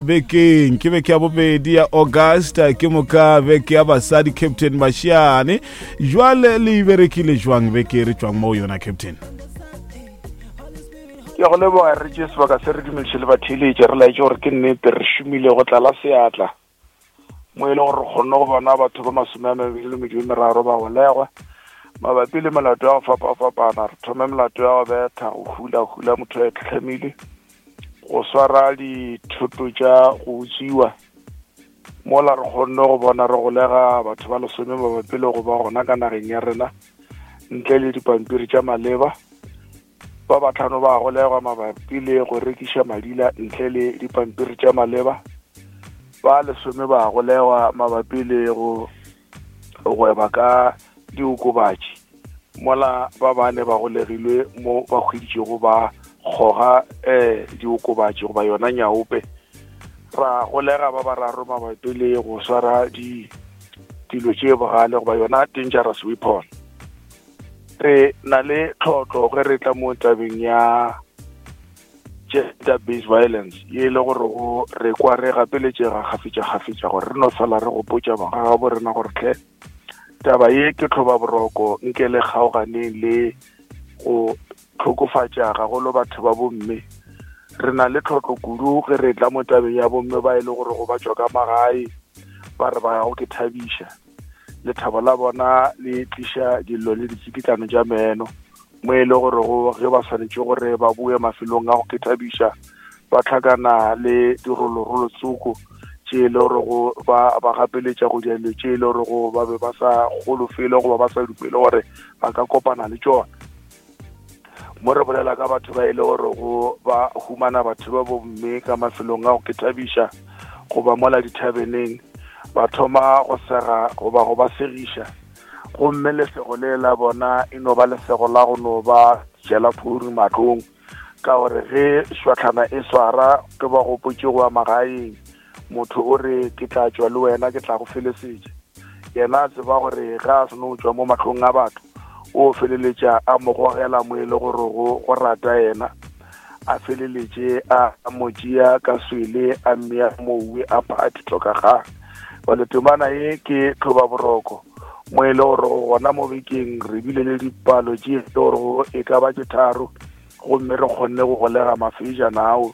Bekeng ke beke ya bobedi ya August, ke moka beke ya basadi. Captain Mashiane, jwale le berekile jwang beke e re tšwang mo yona, Captain? Ke go leboga. Re tše sebaka se re dumediše le batheeletše, re laetše gore ke nnete re šomile go tlala seatla mo e le gore re kgonne go bona batho ba 23 ba golegwa mabapi le melato ya go fapafapana. Re thome melato ya go betha, go hula-hula motho a tlhamile, go swara dithoto tša go utswiwa, mola re kgonne go bona re golega batho ba 10 mabapi le go ba gona ka nageng ya rena ntle le dipampiri tša maleba. Ba batlhano ba golegwa mabapi le go rekiša madila ntle le dipampiri tša maleba. Ba 10 ba golegwa mabapi le go gweba ka diokobatši, mola ba bane ba golegilwe mo ba hweditšego ba kgoga diokobatši goba yona nyaope. Ra golega ba bararo mabapi le go swara dilo tše bogale goba yona dangerous weapon. Re na le tlhotlo ge re tla mo tabeng ya gender based violence ye e le gore go re kwa re gapeletšega kgafetša-kgafetša gore re no fela re gopotša bagagabo rena gore tlhe, taba ye ke tlhoba boroko, nke le kgaoganeng le go tlhokofatša gagolo batho ba bomme. Re na le tlhotlo kudu ge re tla mo tabeng ya bomme ba e le gore go ba tšwa ka magae ba re ba ya go ke thabiša, lethabo la bona le tliša dillo le ditsikitlano tša meno, mo e le gore go ge ba swanetše gore ba boe mafelong a go ke thabiša ba tlhakana le dirolorolo tsoko tše e le gore go ba ba gapeletša go dira dilo tše e le gore go ba be ba sa golofele goba ba sa dumele gore ba ka kopana le tšona. Mo re bolela ka batho ba e le gore go ba humana batho ba bomme ka mafelong a go ke thabiša goba mola dithabeneng, ba thoma go sega goba go ba segiša, gomme lesego le la bona e no ba lesego la go no ba jela phuru matlong, ka gore ge šwatlhana e swara ke ba gopotše go ya magaeng, motho o re, "Ke tla tšwa le wena, ke tla go felesetša." Yena a tseba gore ge a seno tšwa mo mahlong a batho, o feleletša a mo gogela mo e le gore go rata yena, a feleletše a mo tšea ka swele, a mmea mouwe a phathi tlhokagang. Bale temana ye ke tlhoba boroko mo e le gore gona mo bekeng re bile le dipalo tše e le gore e ka ba tše tharo, gomme re kgonne go golega mafejana ao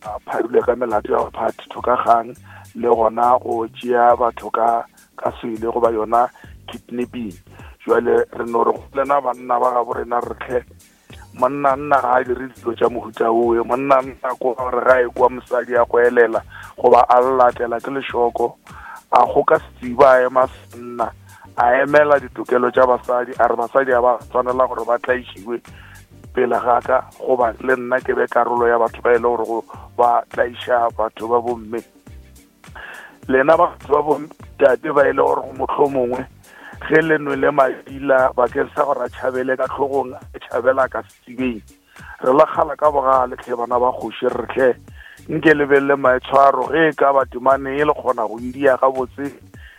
a pharilwe ka melato ya go phathi thokagang le gona go tšea batho ka swele goba yona kidnapping. Jwale re no re go lena banna ba gabo rena, re tlhe, monna nna ga a dire dilo tša mohuta owe. Monna nna ko gore ga e kwa mosadi a go elela goba a latela ke lešoko, a kgoka setsiba, a ema senna, a emela ditokelo tša basadi, a re basadi a ba tshwanela gore ba tlaišiwe pele ga ka goba le nna ke be karolo ya batho ba e le gore go ba tlaiša batho ba bomme. Lena batho ba bontate ba e le gore motlho mongwe ge le nwele madila bakeng sa gore a tšhabele ka tlhogong, a tšhabela ka setsibeng, re la kgala ka bogale tlhe bana ba kgoši, re tlhe nke lebelele maitshwaro. Ge e ka ba temane e le kgona go idia gabotse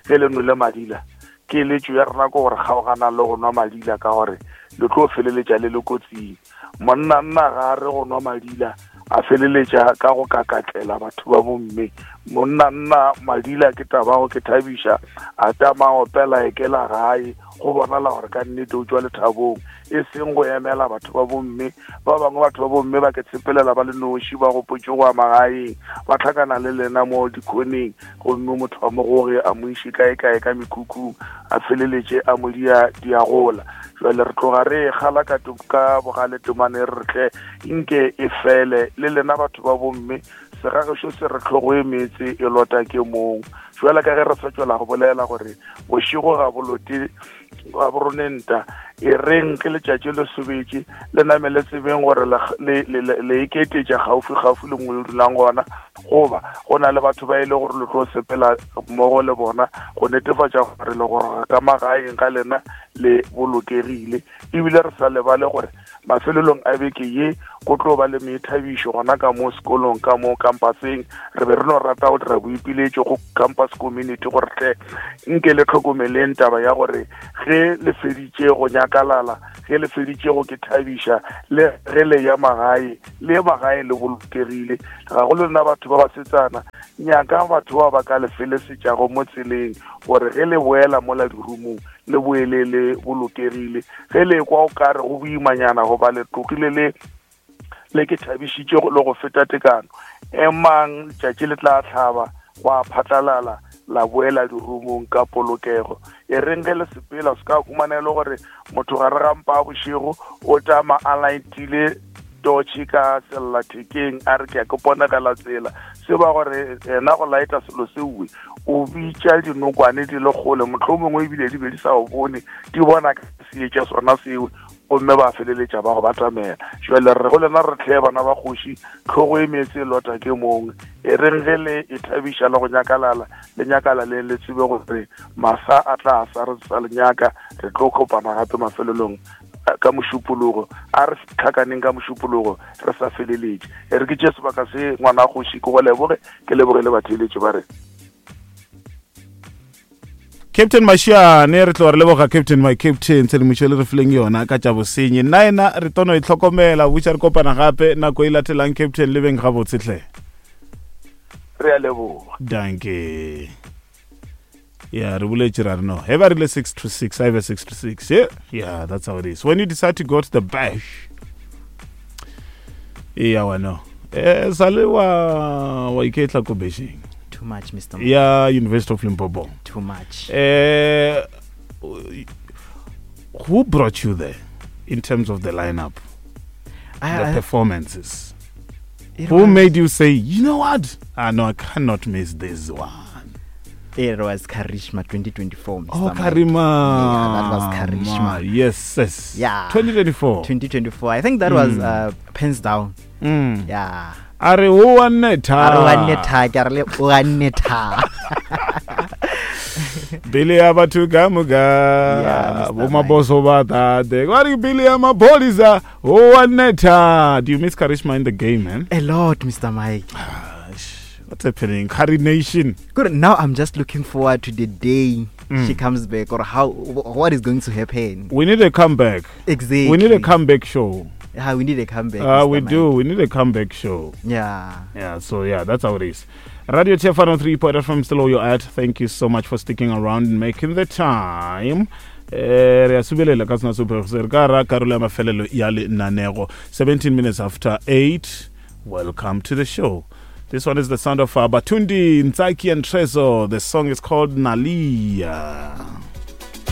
ge le nwele madila, keletšo ya rena ke gore kgaoganang le go nwa madila, ka gore le tlo feleletša le le kotsing. Monna nna ga a re go nwa madila a feleletša ka go kakatlela batho ba bomme. Monna nna madila ke taba go ke thabiša, a tama opela ekela gae, go bonala gore ka nnete o tšwa lethabong, e seng go emela batho ba bomme. Ba bangwe batho ba bomme ba ke tshepelela ba le noši, ba gopotše go ya magaeng, ba tlhakana le lena mo dikhoneng, gomme motho wa mogoge a mo iše kae-kae ka mekhukhung, a feleletše a mo dia diagola. Jwale re tloga re e kgala ka bogale temane, re tle nke e fele. Le lena batho ba bomme, segagešo se re tlhogo e metse e lota ke mong. Jwale ka ge re sa tšwela go bolela gore bošego ga bolote ga boronenta, e reng ke letšatši le sobetše, le name le tsebeng gore le iketetša gaufi-gaufi le nngwe le dulang gona, goba go na le batho ba e le gore le tlo sepela mmogo le bona go netefatša gore le goroga ka magaeng ga lena le bolokegile. Ebile re sa lebale gore mafelelong a beke ye go tlo ba le meithabišo gona ka mo sekolong, ka mo campuseng. Re be re no rata go dira boipiletšo go campus. community gore tle nke le tlhokomeleng taba ya gore ge le feditše go nyakalala ge le feditše go ke thabiša le ge le ya magae le magae le bolokegile ga go le lena batho ba basetsana nyaka batho ba ba ka le felesetšago mo tseleng gore ge le boela mola dirumong le boele le bolokegile ge le kwa o kare go boimanyana goba le tlogile le le ke thabišitše le go feta tekano emang letšatši le tla tlhaba gwa phatlalala la boela dirumong ka polokego e reng ge le sepela se ka humana e le gore motho gare ga mpa a bošego o tama a laetile totšhe ka sellathekeng a re ke ya ke ponegela tsela se ba gore ena go laeta selo sewe o bitša dinokwane di le kgole motlho mongwe ebile di be di sa o bone di bona ka seetša sona sewe gomme ba feleletša ba go batamela jale re go lena re tlhe bana ba kgoši tlhogo e meetse e lota ke mongwe e reng ge le e thabiša le go nyakalala le nyakalaleng le tsebe gore masa a tla sa re sa le nyaka re tlo kopana gape mafelelong ka mošupologo a re tlhakaneng ka mošupologo re sa feleletše e re ke tše sebaka se ngwana kgoši ke go leboge ke leboge le batheeletše ba re Captain Mashiane re tlo re leboga Captain my Captain tshedimošo le re fileng yona ka tša bosenyi nna ena re tono e tlhokomela butša re kopana gape nako e latelang Captain le beng gabotse hle re a leboga danke yeah re boletše ra re no he ba rile 6 to 6 a e be 6 to 6 yeah yeah that's how it is when you decide to go to the bash yeah wa no eh sale wa wa iketla ko bashing too much mr ya University of Limpopo too much eh who brought you there in terms of the lineup I, the I, performances who was, made you say you know what ah no i cannot miss this one It was Karishma 2024. Mr. Oh, Karima. Yeah, that was Karishma. Yes, yes. Yeah. 2024. 2024. I think that mm. was pens down. Mm. Yeah. A re o wa nne tha. A re wa nne tha, ke a re le o wa nne tha. Bili ya batho ka moka bo maboso ba tate ba re bili ya maphodisa o wa nne tha. Do you miss Karishma in the game, man? A lot, Mr. Mike. Ah, what's happening? Curry Nation. Good. Now I'm just looking forward to the day mm. she comes back or how what is going to happen. We need a comeback. Exactly. We need a comeback show. Yeah, we need a comeback. We Mike. do. We need a comeback show. Yeah. Yeah. So yeah, that's how it is. Radio TF 103 point FM still all you're at. Thank you so much for sticking around and making the time. Eh, re a subelela ka sena sephego se re ka ra karolo ya mafelelo ya lenanego 17 minutes after 8 welcome to the show this one is the sound of uh, Batundi, Ntsaki and Trezo. The song is called Nalia.